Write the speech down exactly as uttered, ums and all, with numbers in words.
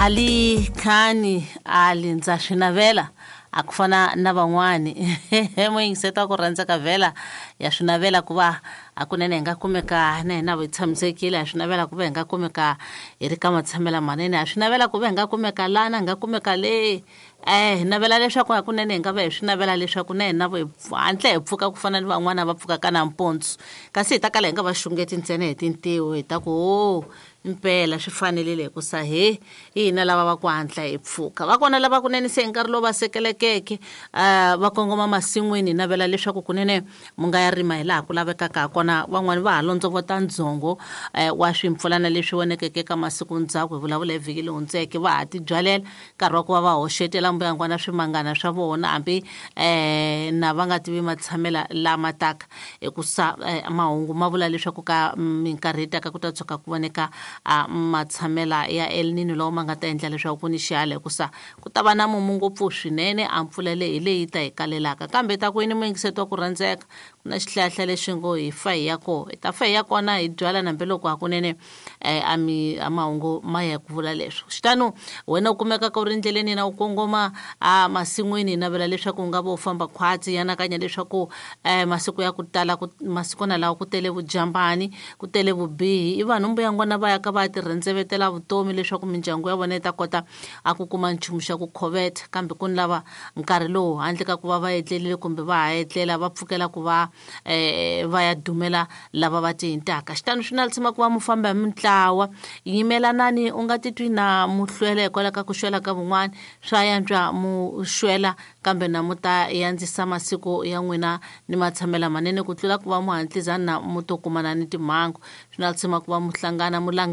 Ali Khani Ali ndza swi navela a ku fana na van'wani muyingiseti wa ku rhandza ka vhela ya swi navela ku va hakunene hi nga kumeka na hina hi tshamisekile, ha swi navela ku va hi nga kumeka hi ri ka matshamela manene, ha swi navela ku va hi nga kumeka lana hi nga kumeka le eh hi navela leswaku hakunene hi nga va hi swi navela leswaku na hina hi hatla hi pfuka ku fana ni van'wana va pfukaka nampundzu, kasi hi ta kala hi nga va xungeti ntsena hi tintiho hi ta ku ho impela swi fanelile hikusa he hi hina lava va ku hatla hi pfuka. Va kona lava kunene se hi nkarhi lowu va sekelekeke um va kongoma masin'wini, hi navela leswaku kunene mu nga ya rima hi laha ku lavekaka ha kona. Van'wani va ha londzovota ndzhongo um wa swimpfulana leswi vonekeke ka masiku ndzhaku, hi vulavula hi vhiki leyi hundzeke, va ha tibyalela nkarhi wa ku va va hoxetela mbuyangwana swimangana swa vona hambi um na va nga tivi matshamela lama taka, hikusa mahungu ma vula leswaku ka minkarhi yi taka ku ta tshuka ku voneka a matshamela ya El Nino lawa ma nga ta endla leswaku ku ni xihala, hikusa ku ta va na mumu ngopfu swinene, a mpfula leyi hi leyi ta hi kalelaka. Kambe ta ku yini muyingiseti wa ku rhandzeka, ku na xihlahla lexi ngo hi fa hi ya koho, hi ta fa hi ya kona hi byala na hambiloko hakunene um a mi a mahungu ma ya ku vula leswo. Xitano wena u kumekaka u ri endleleni na u kongoma a masin'wini, hi navela leswaku u nga va u famba khwatsi, hi anakanya leswaku um masiku ya ku tala ku masikwana lawa ku tele vujambani, ku tele vubihi, i vanhu mbuyangwana va ya ka va ti rhendzevetela vutomi leswaku mindyangu ya vona yi ta kota a ku kuma nchumu xa ku khoveta, kambe ku ni lava nkarhi lowu handle ka ku va va etlelile kumbe va ha etlela va pfukela ku va um va ya dumela lava va tihintaka. Xitano swi na tshama ku va mu famba hi mintlawa, yimelanani u nga titwi na mu hlwela hikwalaho ka ku xwela ka van'wani, swa yantswa mu xwela kambe na mu ta yandzisa masiku ya n'wina ni matshamela manene ku tlula ku va mu hatlisa na mu to kumana ni timhangu. Swi na tshama ku va mu hlangana mu langana.